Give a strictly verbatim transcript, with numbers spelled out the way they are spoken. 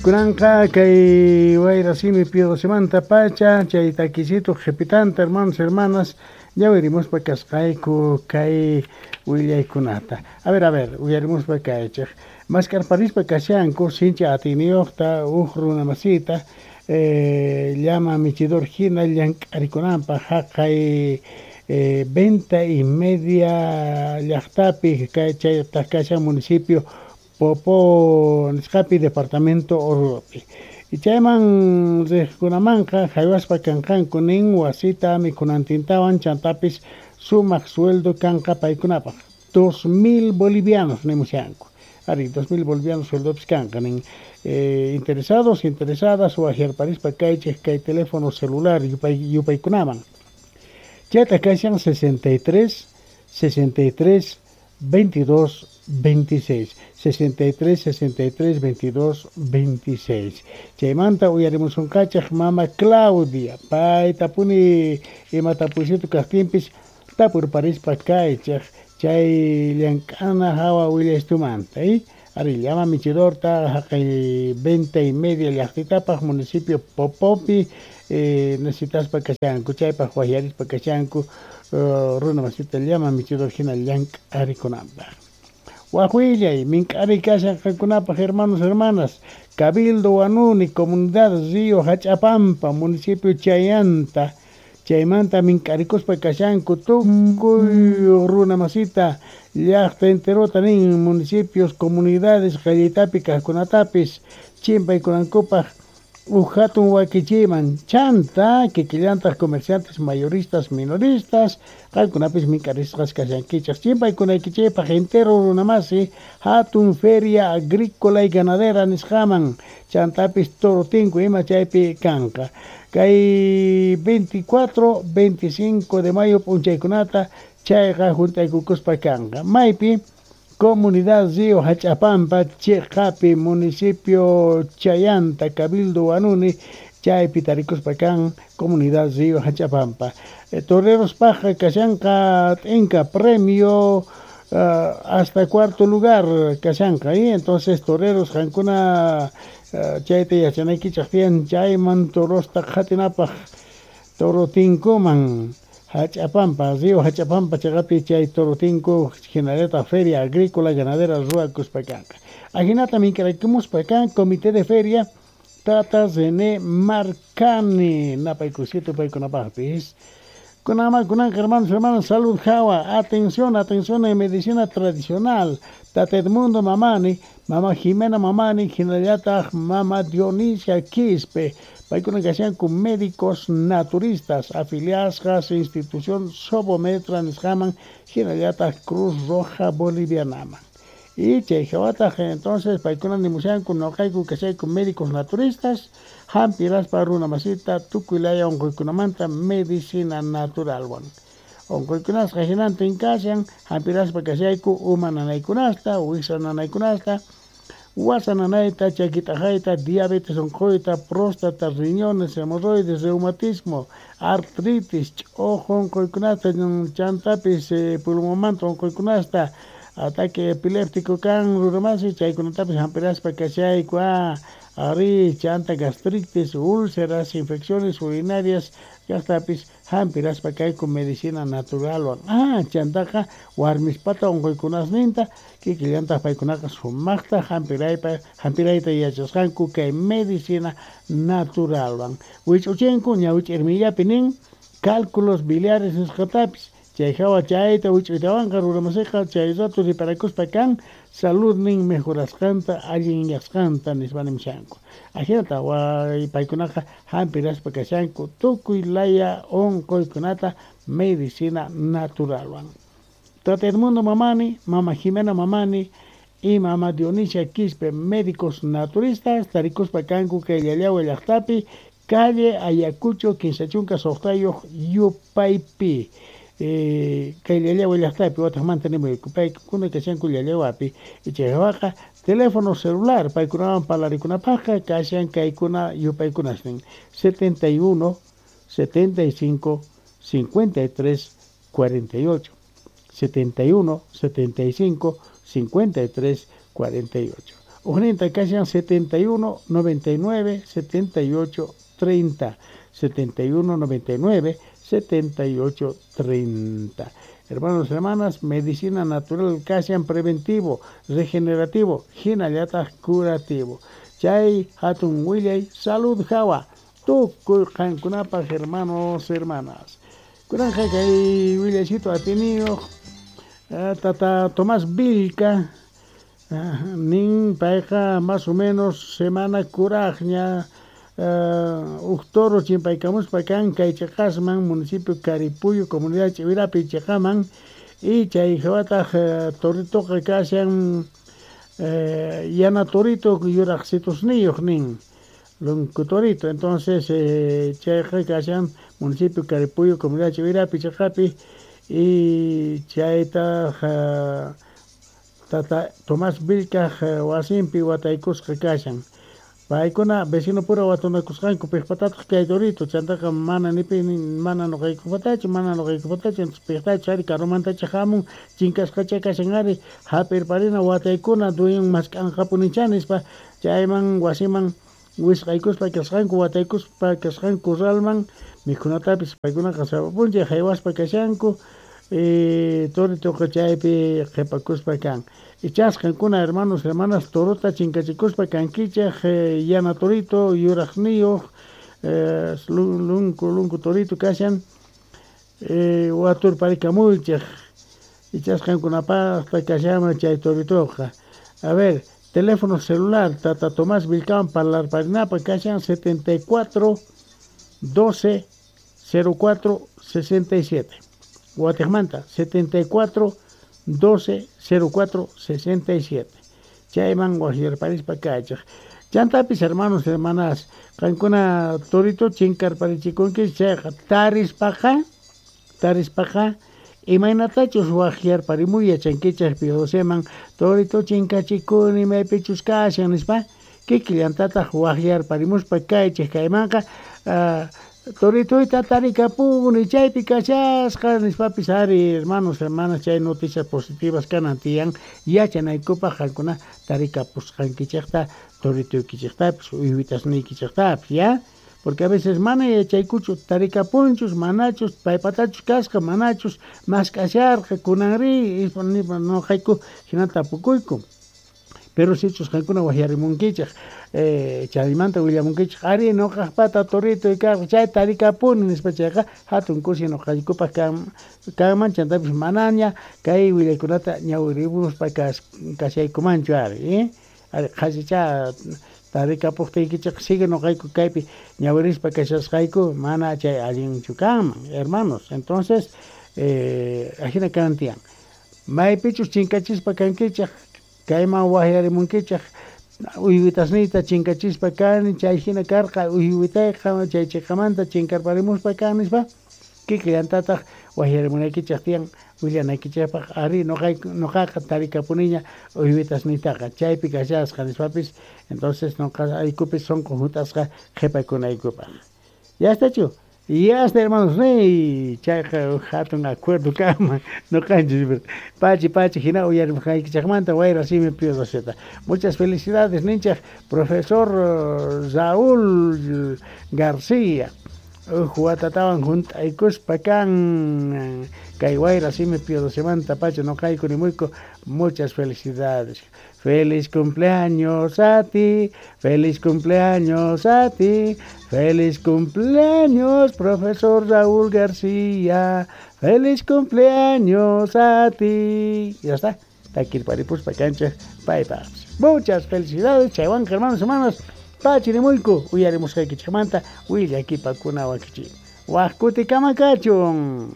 Kunanqa kay wayra simi pidosimanta pacha chay takisito qhipitanta hermanos hermanas ñawirimuspa kasqayku kay willaykunata. A ver, a ver, uyarimuspa kaychik. Maskarparispa kashanku sinchi atiyniyuqta huk runa masita eh, llama michidor hina llank'arikunanpaq haqay eh, venta y media llaqtapi kay chaytaq kashan municipio Popo nisqapi departamento Oruropi. Y chayman riqkunamanqa haywaspa kanqanku nin wasita mikhunantintawan chantapis sumaq sueldo kanqa paykunapaq dos mil bolivianos nimushanku. Ari, dos mil bolivianos sueldopis kanqa nin eh, interesados, interesadas waqyarparispa kaychik kay teléfono celular yupay, yupaykunaman. Chayta kashan sesenta y tres, sesenta y tres, veintidós, veintiséis, sesenta y tres, sesenta y tres, veintidós, veintiséis. Chaymanta uyarimusunqachaq mama Claudia, payta puni ima tapuysitu kaqtinpis tapurparispa kaychaq chay llank'ana hawa willastumanta, ¿eh? Ari, llama michidorta haqay venta y media llaqtitapaq municipio Popopi, eh, necesitaspa kashanku, chaypaq waqyarispa kashanku, uh, runa masita llama michidor hina llank'arikunanpaq. Wajwillay, mink'ari kashan qankunapaq hermanos, hermanas, Cabildo Huanuni, Comunidad Río Hachapampa, municipio Chayanta, chaymanta mink'arikuspa kashanku tukuy runa masita llaqta enterota nin municipios, comunidades qallitapi kaqkunatapis chimpaykunankupaq uj hatun wakichiyman chanta kikillantaq comerciantes mayoristas minoristas qankunapis mink'arisqas kashankichaq chimpaykunaykichikpaq entero runamasi hatun feria agrícola y ganadera nisqaman chantapis toro tinku ima chaypi kanqa kay veinticuatro, veinticinco de mayo p'unchaykunata chayqa juntaykukuspa kanqa maypi Comunidad Río Hachapampa, Chejapi, municipio Chayanta, Cabildo Huanuni, chaypi tarikuspa kan Comunidad Río Hachapampa. Eh, Toreros Paja, Kashanka, Tenka, premio uh, hasta cuarto lugar, Kashanka, ¿eh? Entonces, toreros, qankuna, uh, chayta yachanaykichaq tiyan, chayman torosta qhatinapaq, toro tinkuman. Hachapampa, Río Hachapampa, chaqapi chay toro tinku, hinallataq feria agrícola ganadera ruwakuspa kanqa. Ajinata mink'araykumuspa kan comité de feria Tata René Marcani, napaykusito paykunapaqpis. Kunama kunanqa hermanos, hermanas, salud hawa, atención, atención en medicina tradicional. Tata Edmundo Mamani, Mama Jimena Mamani, hinallataq Mama Dionisia Quispe. Paykuna kashanku médicos naturistas afiliadas institución Sobometra nisqaman hinallataq Cruz Roja Bolivianaman. Y chay hawataq entonces paykuna nimushanku noqayku kashayku médicos naturistas hampiraspa runa masita tukuy laya unquykunamanta medicina naturalwan. Unquykunasqa hinantin kashan hampiraspa kashayku uma nanaykunasta, wiksa nanaykunasta, wasa nanayta, chakit'aqayta, diabetes unquyta, próstata, riñones, hemorroides, reumatismo, artritis, ch'uju unquykunasta, chantapis eh, pulmonmanta unquykunasta, ataque epiléptico kan runamasi, chaykunatapis hampiraspa kashayku, ah, ari, chanta gastritis, úlceras, infecciones urinarias, kaqtapis hampiraspa kayku medicina naturalwan. Ah, chantaqa warmispata unquykunasninta kikillantaq paykunaqa sumaqta hampiraypa, hampirayta yachasqanku kay medicina naturalwan. Wich'uchinku ñawich'irmillapi nin cálculos biliares nisqatapis chay hawa chayta wich'uytawanqa runamasiqa chay rato riparakuspa kan saludnin mejorasqanta allinyasqanta nispa nimushanku. Ajinata way paykunaqa hampiraspa kashanku tukuy laya unquykunata medicina naturalwan. Tata Edmundo Mamani, Mama Jimena Mamani y Mama Dionisia Quispe, médicos naturistas, tarikuspa kanku kay Llallawa llaqtapi, calle Ayacucho, kinsa chunka suqtayuq yupaypi. Eh, kay Llallawa llaqtapi wataqmanta nimuyku paykuna kashanku Llallawapi chaywaqa teléfono celular paykunawan parlarikunapaqqa kashan kaykuna yupaykunasnin setenta y uno, setenta y cinco, cincuenta y tres, cuarenta y ocho, setenta y uno, setenta y cinco, cincuenta y tres, cuarenta y ocho. Ujninta kashan setenta y uno, noventa y nueve, setenta y ocho, treinta, setenta y uno, noventa y nueve, setenta y ocho, treinta. Hermanos, hermanas, medicina natural kashan preventivo, regenerativo, hinallataq curativo. Chay hatun willay salud hawa tukuy qankunapaq, hermanos, hermanas. Kunanqa kay willaycito atiniyuq tata Tomás Vilca nin payqa más o menos semana kuraqña uj toro chimpaykamuspa kan kay chiqasman municipio Caripuyo comunidad Ch'iwirapi chiqaman y chay hawataq toritoqa kashan yana torito yuraqsitusniyuq nin lunku torito. Entonces chayqa kashan municipio Caripuyo comunidad Ch'iwirapi chiqapi y chaytaq tata Tomás Vilcaj wasinpi wataykusqa kashan. Paykuna vecino pura watunakusqanku piqpatataq kay torito chantaqa mana nipi mana nuqaykupatachu mana nuqaykupatachu entonces piqtachu ari karumantacha hamun chinkasqacha kashan ari hap'irparina wataykuna dueñon mask'anqapunicha nispa chayman wasiman wisq'aykuspa kasqanku wataykuspa kasqanku corralman mikhunatapis paykunaqa sapa p'unchay haywaspa kashanku y toritoqa chaypi qhipakuspa kan. Ichasqankuna hermanos, hermanas, torota chinkachikuspa kankichaq yana torito yuraqniyuq lunku lunku torito kashan waturparikamuychaq ichasqankunapaqta kashanman chay toritoqa. A ver, teléfono celular tata Tomás Vilcawan parlarparinapaq kashan setenta y cuatro, doce, cero cuatro, sesenta y siete. Guatemala setenta y cuatro, doce, cero cuatro, sesenta y siete. Chayman wajyarparispa kachaq. Chantapis hermanos, hermanas, qankuna torito chinkarparichikunki chayqa tarispaqa, tarispaqa imaynatachus wajyarparimuy yachankichaq Pio doceman torito chinkachikuni maypichus kashan nispa kikillantataq wajyarparimuspa kaychik kaymanqa uh, toritoyta tarikapuni chaypi kashasqa nispapis ari hermanos, hermanas, chay noticias positivas kanan tiyan yachanaykupaq qankuna tarikapusqankichikta toritoykichiktapis uywitasniykichiktapis ya, porque a veces mana yachaykuchu tarikapunchus manachus paypatachus kasqa manachus mask'asharqa kunanri nuqayku hina tapukuyku. Pero sichus qankuna wajyarimunkichaq eh, chaymanta willamunkichaq ari nuqaqpata torito karqa chay tarikapuni nispa chayqa hatun kusi nuqaykupaq kan kanman chantapis manaña kay willaykunata ñawirimuspa kas kashaykumanchu ari eh? Ari qhasicha tarikapuqtiykichaq sigue nuqayku kaypi ñawirispa kashasqayku mana chay allinchu kanman hermanos. Entonces eh, ajina kanan tiyan maypichus chinkachispa kankichaq kayman wajyarimunkichaq uywitasniyta chinkachispa kani chay hina karqa uywitayqa chay chiqamanta chinkarparimuspa kan nispa kikillantataq wajyarimunaykichaq tiyan willanaykichaqpaq ari nuqayku nuqaqa tarikapuniña uywitasniytaqa chaypi kashasqa nispapis entonces nuqaykupis sunqu hunt'asqa qhipakunaykupaq. Ya estachu. Ya está, hermanos, rey, chayqa hatun acuerdo kanman nuqanchis pachi pachi hina uyarimusqaykichaqmanta wayra simi Pio doceta. Muchas felicidades ninchaq profesor Raúl García uj watatawan hunt'aykuspa kan kay wayra simi Pio docemanta pacha nuqayku nimuyku muchas felicidades. Feliz cumpleaños a ti, feliz cumpleaños a ti, feliz cumpleaños, profesor Raúl García, feliz cumpleaños a ti. Ya está, takirparipuspa kanchaq, paypas. Muchas felicidades, chaywanqa hermanos, hermanas, pachirimuykku, uyarimusqaykichikmanta, willakipakuna wakichik. Waq kutikama kachun.